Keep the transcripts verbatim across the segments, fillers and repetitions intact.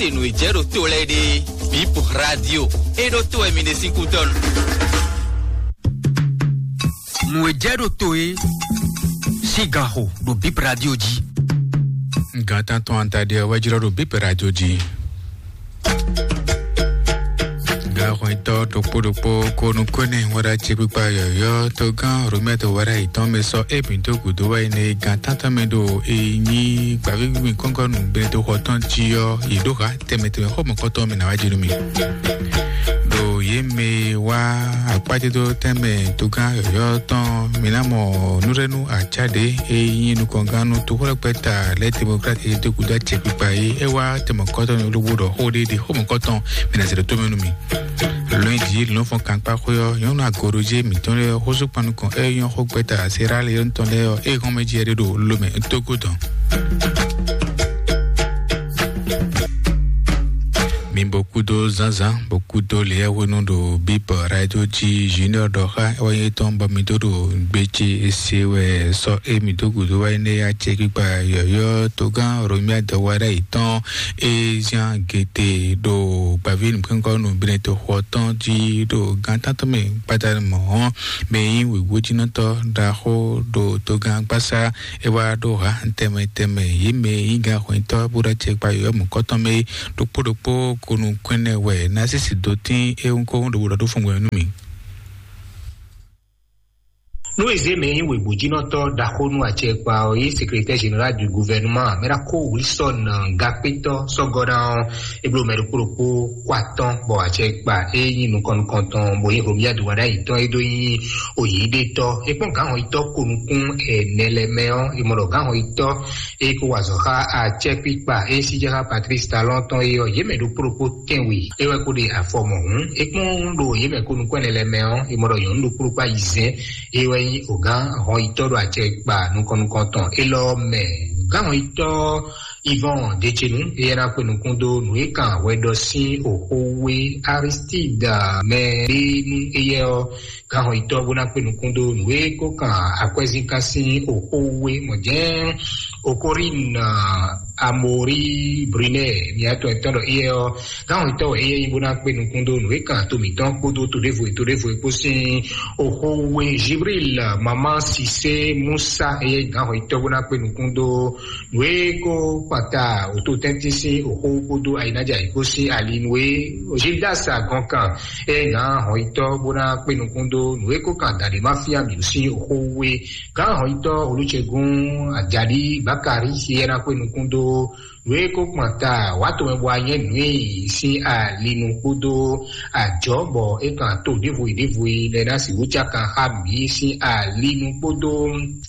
Te nǔ e jɛ ɖo to lɛ́ɛ ɖe, Bip Radio e ɖo to wɛ mi ɖe sín kútɔ́ nu. Nǔ e jɛ ɖo to e sín gan xo ɖo Bip Radio jí. Gan tántɔn anta ɖe wɛ jlɔ́ ɖo Bip Radio jí. Gan xɔnyitɔ́ ɖokpó ɖokpó ko nukúnɛ wɛ ɖo acɛkpikpa yɔ̌yɔ́ togán Romɛ́ to wɛ ɖo ayǐ tɔn mɛ sɔ é bǐ dó gǔdo wá yi nɛ gan tántɔn mɛ ɖo e nyí gbǎvígbí kɔ́ngɔ́nú Benedexɔ tɔn jí ɔ́, yě ɖó ha tɛnmɛ tɛnmɛ xɔmɔkɔtɔn mɛ ná wá jí nú mi. Ɖo yě mɛ wá akpájédó tɛnmɛ togán yɔ̌yɔ́ tɔn, mi ná mɔ nǔɖénú acáɖě e nyí nukɔngán nú toxwlɛ́kpɛ́ta lɛ́ Demokrat e dó gúdo acɛkpikpa é. É wá tɛnmɔkɔtɔn ní olóbó ɖɔ xó ɖé ɖe xɔmɔkɔtɔn mi ná zɛ ɖo tó mɛ nú mi. Lɔnyidzi lɔnfɔn kankpá xwé ɔ́, nyɔ̌nu agoroje mǐtɔn lɛ́ɛ ɔ́, xósúkpannukɔn é nyɔ́ xó gbɛ́ta Sierra Leone tɔn lɛ́ɛ ɔ́, é hɔn mɛ jí ɛɖé ɖo lomɛ tógó tɔn. Mi bo kúdó zánzán, bo kúdó leyɛ́hwenu ɖo Bíbɔ Radio jí Junior ɖɔ xá é wá nyí étɔn bɔ mi dó ɖo gbe ce e se wɛ sɔ́ émí dó gǔdo wá énɛ́ acɛkpikpa yɔ̌yɔ́ togán Romia dɔwara yětɔn e zian gete ɖo gbǎví nǔkpɛ́nkɔ́ nǔbínɛ́ toxo ɔ́ tɔn jí ɖo gán tántɔn mɛ gbadanu mɔ̌ ɔ́, mɛ e nyí wěwójínɔtɔ́ ɖaxó ɖo togán gbásá é wá ɖó ha tɛnmɛ tɛnmɛ yě mɛ e nyí gǎn hwɛntɔ́ bó ɖó acɛkpa yɔ̌yɔ́ mɔ̌kɔtɔn mɛ é ɖokpó ɖokpó ko nukún ɛnɛ wɛ ná sísì dó tín é wúnkɔ́wún ɖokpó ɖɔ ɖó fɔngbɔn nú mì. Nú è zě mɛ e nyí wěgbójínɔtɔ́ ɖaxó nú acɛkpa ɔ́, yí secrétaire général du gouvernement, mɛ ɖaxó Wilson Gakpétɔ́ sɔ́gɔ́ ná ɔ́, é bló mɛ ɖokpó ɖokpó kó atɔ́ bɔ acɛkpa é nyí nukɔn nukɔntɔn bó nyí Romia Duwada yětɔn é dó nyí oyǐɖétɔ́. É kpɔ́n gǎnhɔnyitɔ́ ko nukún ɛnɛ lɛ́ɛ mɛ ɔ́, è mɔ ɖɔ gǎnhɔnyitɔ́ é kó wa azɔ̌ xá acɛkpikpa é sí jɛ xá Patrice Talon tɔn é ɔ́, yě mɛ ɖokpó ɖokpó tɛ́nwe é wɛ kó ɖe afɔ mɔ̌ hǔn. É kpɔ́n ɖo yě mɛ ko nukún ɛnɛ lɛ́ɛ mɛ ɔ́, è mɔ ɖɔ nyɔ̌nu ɖokpó ɖokpó ayizɛ́n é wɛ nyí ogǎn hɔnyitɔ́ ɖo acɛkpa nukɔn nukɔntɔn élɔ́ mɛ. Gǎn hɔnyitɔ́ Yvon Decenu éyɛ́ ná kpe nukún dó nǔ e kan hwɛɖɔ sín oxówé Aristide mɛ ɖé nú éyɛ́ ɔ́, gǎn hɔnyitɔ́ bó ná kpe nukún dó nǔ e kó kan akwɛ́zínkan sín oxówé mɔ̌ jɛ́n Okorin Amori Brunel miatɔn etɔn ɖɔ éyɛ́ ɔ́, gǎn hɔnyitɔ́ wɛ éyɛ́ nyí bó ná kpe nukún dó nǔ e kan to mǐtɔn kpódó to ɖěvo e to ɖěvo e kpó sín oxówé Jibril Maman Sise Musa éyɛ́ nyí gǎn hɔnyitɔ́ bó ná kpe nukún dó nǔ e kó kpata wǒtotɛ́ntin sín oxó kpódó ayǐnájà yě kpó sín ali nú é. Gildas Agɔnkan é gǎn hɔnyitɔ́ bó ná kpé nukún dó nǔ e kó kan dǎɖé má fí amǐ sín oxó wú é. Gǎn hɔnyitɔ́ Olúcegún Ajadi Bakari é ná kpé nukún dó nǔ e kó kpɔn ta wǎ tomɛ bɔ anyɛ́ nǔ e sín ali nú kpódó ajɔ̌ bɔ é kan to ɖěvo e ɖěvo e lɛ ná sixú cákan xá mǐ sín ali nú kpódó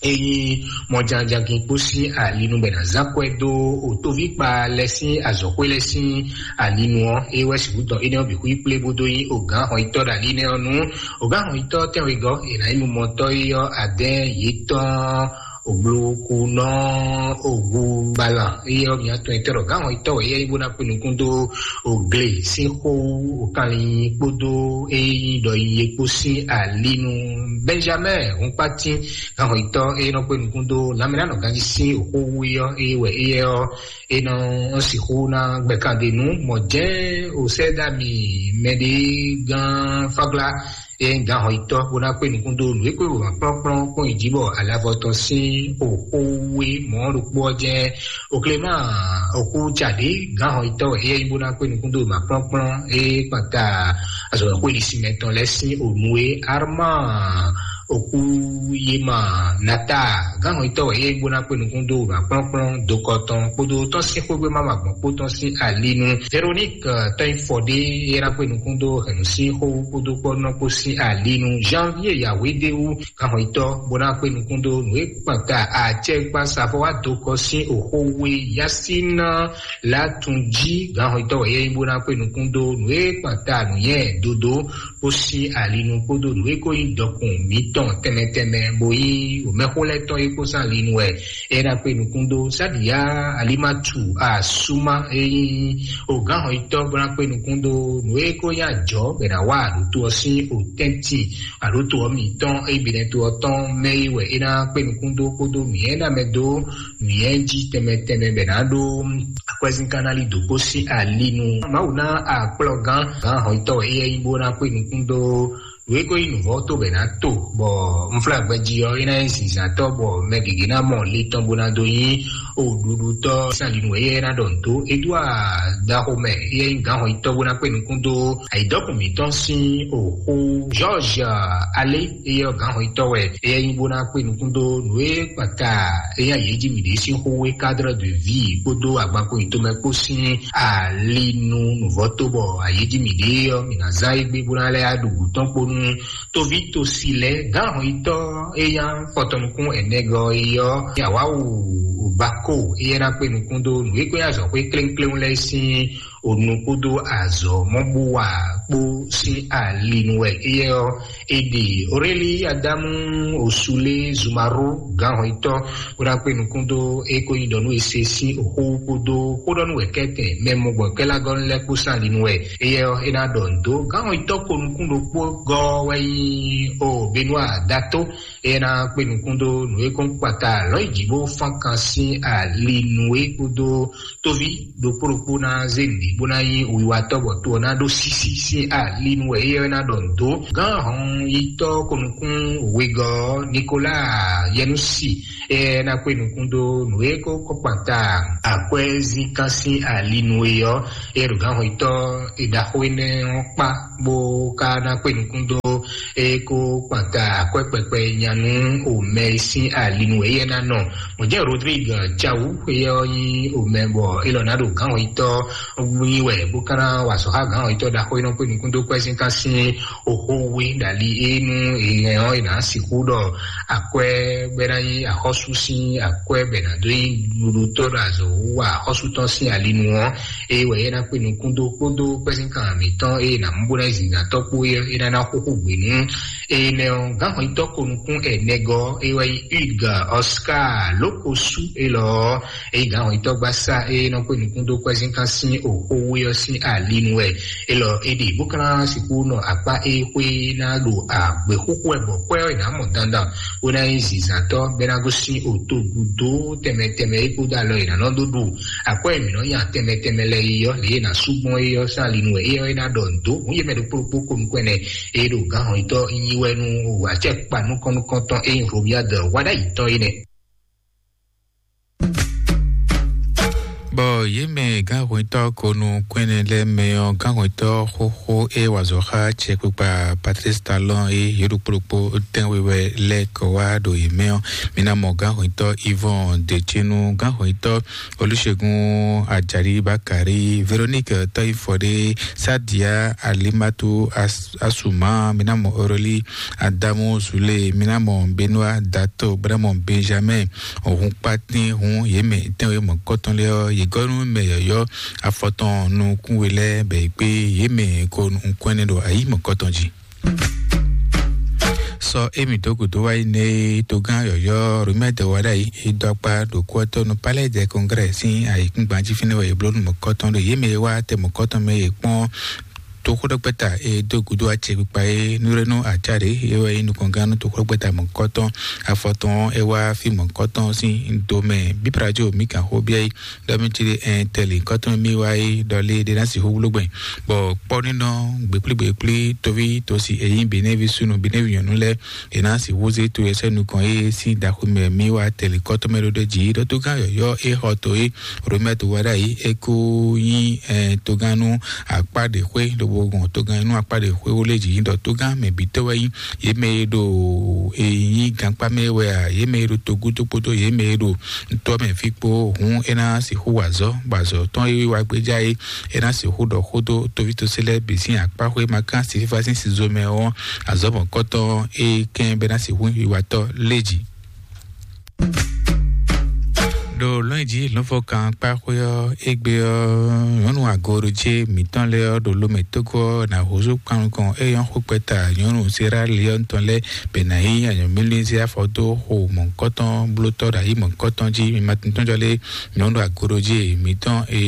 e nyí mɔjánjagin kpó sín alinu bɛ ná zán kwɛ dó otóvíkpa lɛ sín azɔ̌xwé lɛ sín alinu ɔ́, é wɛ sixú dɔn énɛ́ ɔ́ bǐ xwí kplé bó dó nyí ogǎn hɔnyitɔ́ ɖo ali nɛ́ ɔ́ nú ogǎn hɔnyitɔ́ tɛ́nwegɔ́ è nǎ nyí numɔtɔ́ é ɔ́ adɛ́n yětɔn ogblokunɔ ogu gbalan é ɔ́ mǐ atɔn etɔ́ ɖɔ gǎn hɔnyitɔ́ wɛ é nyí bó ná kpé nukún dó ogle sín xó okanlin kpódó é nyí ɖɔ nyi é kpó sín alinu. Benjamin Hunkpatin gǎnhɔnyitɔ́ e nɔ kpé nukún dó lanmɛnánɔ ganjí sín oxó wú é ɔ́, é wɛ éyɛ́ ɔ́, é nɔ sixú ná gbɛkanɖe nú mɔ̌ jɛ́n osɛ́dami mɛɖé gán fáglá e nyí gǎnhɔnyitɔ́ bó ná kpé nukún dó nǔ e kpé wěma kplɔ́nkplɔ́n kpɔ́n yi jí bɔ alavɔ tɔn sín oxó wú é mɔ̌ ɖokpó ɔ́ jɛ́n Okléma oxú caɖě gǎnhɔnyitɔ́ wɛ éyɛ́ nyí bó ná kpé nukún dó wěma kplɔ́nkplɔ́n e kpanta azɔ̌xwéɖisimɛ tɔn lɛ́ɛ sín onu e Arma Okuyema Nata gǎnhɔnyitɔ́ wɛ é nyí bó ná kpé nukún dó wěma kplɔ́nkplɔ́n dokɔ tɔn kpódó tɔ́n sín xwégbé má ma gbɔn kpó tɔn sín alinu. Véronique Tɔ́nyifɔɖé é ná kpé nukún dó hɛ̌nnu sín xó kpódó kpɔ́nɔ kpó sín alinu. Janvier Yahweh Déwu gǎnhɔnyitɔ́ bó ná kpé nukún dó nǔ e kpanta acɛkpasafɔ wá dokɔ sín oxó wú é Yasín Latunjí gǎnhɔnyitɔ́ wɛ é nyí bó ná kpé nukún dó nǔ e kpanta nǔnywɛ́ dodo kpó sín alinu kpódó nǔ e kó nyí dɔkun mǐtɔn tɛnmɛ tɛnmɛ bo yí wǒmɛxó lɛ́ɛ tɔn e kpó sín ali nu wɛ. É ná kpé nukún dó Sáɖiyá Alimatu Asuma e nyí ogǎnhɔnyitɔ́ bó ná kpé nukún dó nǔ e ko nyí ajɔ̌ bɔ è nǎ wa aɖǔto ɔ́ sín otɛ́ntin aɖǔto ɔ́ mǐtɔn e bǐ nɛ́ to ɔ́ tɔn mɛ é wɛ é ná kpé nukún dó kpódó mǐ e ná mɛ dó mǐyɛ́ jí tɛnmɛ tɛnmɛ bɔ è nǎ ɖó akwɛ́zínkánná lí dǒ kpó sín ali nu. Mawu ná akplɔ́gán gǎnhɔnyitɔ́ wɛ éyɛ́ nyí bó ná kpé nukún dó nǔ e ko nyí nǔvɔ́ tó bɔ è nǎ to, bɔ unflágbɛjí ɔ́ é ná nyí zǐnzǎntɔ́ bɔ mɛ gěgé ná mɔ le tɔn bó ná dó nyí oɖuɖutɔ́ sín ali nu wɛ éyɛ́ ná ɖɔ nǔ dó. Edúard Dahomey éyɛ́ nyí gǎnhɔnyitɔ́ bó ná kpé nukún dó ayǐdɔkùn mǐtɔn sín òxú. George Alé éyɛ́ ɔ́ gǎnhɔnyitɔ́ wɛ éyɛ́ nyí bó ná kpé nukún dó nǔ e kpata é nyí ayǐ jí mǐɖée sín xó wé cadre de vie kpódó agbanko yǐtomɛ kpó sín ali nu nǔvɔ́ tó bɔ ayǐ jí mǐɖée ɔ́ mǐ ná zán égbé bó ná lɛ́ ɖu gǔ tɔn kpó nú toví tosi lɛ́ɛ. Gǎnhɔnyitɔ́ é nyí afɔtɔnukún ɛnɛgɔ́ é ɔ́, Yawawu Bako éyɛ́ ná kpé nukún dó nǔ e kó nyí azɔ̌xwé klénkléwún lɛ́ɛ sín onu kpódó azɔ̌ mɔ́ bó wa kpó sín ali nu wɛ. Éyɛ́ ɔ́, è ɖe Aurélie Adamu Osule Zumaro gǎnhɔnyitɔ́ bó ná kpé nukún dó é ko nyí ɖɔ nú è se sín xó kpódó xóɖɔ́núwɛ̌kɛ́tɛn mɛ mɔgbɔ̌kɛ́lágɔ́nú lɛ́ɛ kpó sín ali nu wɛ. Éyɛ́ ɔ́, é ná ɖɔ nǔ dó gǎnhɔnyitɔ́ ko nukún ɖokpó gɔ́ wɛ nyí o Benoit Dato. É ná kpé nukún dó nǔ e kɔn kpata lɔ̌ yi jǐ bó fán kan sín ali nu é kpódó tóví ɖokpó ɖokpó ná zé nǔɖé bó ná nyí wiwatɔ́ bɔ to ɔ́ ná ɖó sísí sín ali nu wɛ é ɔ́ ná ɖɔ nǔ dó. Gǎnhɔnyitɔ́ ko nukún wegɔ́ Nicolas Yɛnusi é ná kpé nukún dó nǔ e kó kɔkpata akwɛ́zínkán sín ali nu é ɔ́, é ɖo gǎnhɔnyitɔ́ ɖaxó énɛ́ ɔ́ kpá bó ka ná kpé nukún dó é kó kpata akwɛ́ kpɛkpɛ nya nú omɛ e sín ali nu wɛ éyɛ́ ná nɔ. Mɔ̌ jẹ́ Rodrigue Tchawu éyɛ́ ɔ́ nyí omɛ bɔ é lɔ ná ɖo gǎnhɔnyitɔ́ nyi wɛ bó ka ná wa azɔ̌ xá gǎnhɔnyitɔ́ ɖaxó e nɔ kpé nukún dó kwɛ́zínkán sín oxó wé ɖali é nú èhɛn ɔ́ è nǎ sixú ɖɔ akwɛ́ bɔ é ná nyí axɔ́sú sín akwɛ́ bɔ è nǎ dó nyí ɖuɖutɔ́ ɖo azɔ̌ wú wa axɔ́sú tɔn sín ali nu ɔ́. Eye wɛ é ná kpé nukún dó kpódó kpɛ́sínkan mǐtɔn eye è nǎ mú bó ná nyí zǐngǎntɔ́ kpó é é ná ná xóxó gbě nú énɛ́ ɔ́. Gǎnhɔnyitɔ́ ko nukún ɛnɛgɔ́ é wɛ nyí Hugues Oscar Lókosú élɔ́ ɔ́, eye gǎnhɔnyitɔ́ gbásá é nɔ kpé nukún dó kpɛ́sínkán sín oxó wé ɔ́ sín ali nu wɛ. Élɔ́ é ɖe bó ka ná sixú nɔ akpá é xwé ná ɖo agběxúxú wɛ bɔ kwɛ́ ɔ́ è nǎ mɔ dandan bó ná nyí zǐnzǎntɔ́ bɔ é ná gosín otogudo tɛnmɛ tɛnmɛ é kpódó alɔ è nǎ nɔ dó ɖu akwɛ́ e mǐ nɔ nya tɛnmɛ tɛnmɛ lɛ́ɛ é ɔ́, lě e è nǎ súgbɔ́n é ɔ́ sín ali nu wɛ é ɔ́ é ná ɖɔ nǔ dó. Hǔn yě mɛ ɖokpó ɖokpó ko nukún ɛnɛ é ɖo gǎnhɔnyitɔ́ nyi wɛ nú acɛkpa nukɔn nukɔntɔn e nyí Robiade wa ɖ'ayǐ tɔn é nɛ́. Bɔ yě mɛ gǎnhwɛntɔ́ ko nukún ɛnɛ lɛ́ɛ mɛ ɔ́, gǎnhwɛntɔ́ xóxó e wa azɔ̌ xá acɛkpikpa Patrice Talon e yě ɖokpó ɖokpó tɛ́nwe wɛ lɛ́ɛ kɔ wá ɖo yě mɛ ɔ́, mi ná mɔ gǎnhwɛntɔ́ Yvon Decenu, gǎnhwɛntɔ́ Olúṣègùn Àjàrí Bákàrí, Véronique Tɔ́yífɔdé, Sádia Alimatu As-, Asuma, mi ná mɔ Aurélie Adamu Zule, mi ná mɔ Benoît Dato, bó ná mɔ Benjamin Òhun kpátín hun yě mɛ tɛ́nwe mɔ̌kɔtɔn lɛ́ɛ ɔ́, yě gɔ́ nú mɛ yɔ̌yɔ́ afɔtɔn nukún we lɛ́ɛ bɔ yě kpé yě mɛ ko nukún ɛnɛ ɖo ayǐ mɔ̌kɔtɔn jí. Sɔ émí dó gǔdo wá yi nɛ togán yɔ̌yɔ́ Romɛ́ dɛ wá ɖ'ayǐ é dó akpá ɖo kú ɔ́ tó nú Palais des Congrès sín ayǐkúngban jí fínɛ́ wɛ è bló nú mɔ̌kɔtɔn ɖo yě mɛ e wá tɛ mɔ̌kɔtɔn mɛ e kpɔ́n toxóɖɔgbɛ́ta e dó gúdo acɛkpikpa é nú ɖé nú acá ɖě é wɛ nyí nukɔngán nú toxóɖɔgbɛ́ta mɔ̌kɔtɔn afɔtɔn é wá fí mɔ̌kɔtɔn sín domɛ bíbrajo mí kan xó biɛ é ɖɔ mí cí ɖé ɛn tɛlí kɔtɔn mí wá é ɖɔ lé ɖé ná sixú wló gbɛn bɔ kpɔ́ nínɔ gběkplígběkplí tóví tósi èyí benévi súnú benévi nyɔ̌nu lɛ́ɛ è nǎ sixú zé to yɛsɛ́ nukɔn é sín daxomɛ mí wá tɛlí kɔtɔn mɛ ɖó ɖé jǐ ɖɔ tó gán yɔ̌yɔ́ é xɔ to é Romɛ́ to wá ɖ'ayǐ é kó nyí togán nú akpá ɖě xwé lobo gbɔn togán nú akpá ɖě xwé wó lé jǐ ɖɔ togán mɛ bǐ tɔ́ wɛ nyí yě mɛ e ɖo e nyí gankpá mɛ wɛ a yě mɛ e ɖo togúdo kpódó yě mɛ e ɖo tɔ́ mɛ fí kpó hǔn é ná sixú wa azɔ̌ bɔ azɔ̌ tɔn e wá gbéjá é é ná sixú ɖɔ xó dó tovítɔ́sí lɛ́ɛ bǐ sín akpá xwé ma kán si fífá sín sizo mɛ ɔ́ azɔ̌ mɔ̌kɔtɔn é kɛn bɔ é ná sixú wiwatɔ́ lé jǐ. Ɖo lɔ̌nyijǐ lɔ̌nfɔkan kpá xwé ɔ́ égbé ɔ́ nyɔ̌nu Goroje mǐtɔn lɛ́ɛ ɔ́ ɖo lomɛ tógó ɔ́ ná húzú kpanukɔn é nyɔ́ xó kpɛta nyɔ̌nu Sierra Leone tɔn lɛ́ɛ bɛ ná yí anyɔ̌mílín zé afɔ dó xo mɔ̌hunkɔtɔn blótɔ́ ɖo ayǐ mɔ̌hunkɔtɔn jí. Mi ma tíntɔ́n jɔ lé nyɔ̌nu agoroje mǐtɔn e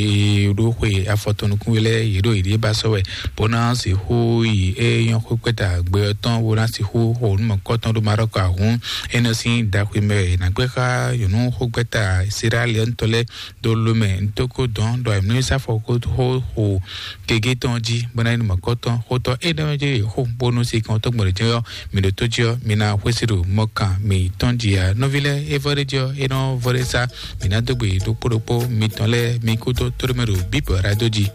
ɖó xwe afɔtɔn nukún lɛ́ɛ yě ɖo yěɖée ba sɔ́ wɛ bó ná sixú yi é nyɔ́ xó kpɛta gbɛ ɔ́ tɔn bó ná sixú xo nǔ mɔ̌hunkɔtɔn ɖó Marɔku ahún. É nɔ sín ɖaxwimɛ è nǎ gbé xá nyɔ̌nu xó kpɛta Sierra Leone tɔn lɛ́ɛ ɖo lomɛ ntoko dɔn ɖɔ emlɔ́ sá fɔ xó xo gege tɔn jí bɔ ná yi nɔ mɔkɔ tɔn xótɔ é ɖɔ jɛ xó bónú si kan tɔn gbɔdɔ jɛ yɔ mi ɖo tó jí ɔ mi ná xwésí ɖo mɔkan mi tɔn jí ya nɔvi lɛ é vɔ ɖe jí ɔ é nɔ vɔ ɖe sá mi ná dó gbe ɖokpó ɖokpó mi tɔn lɛ mi kú tó tó ɖo mɛ ɖo bíbɔ ra dó jí.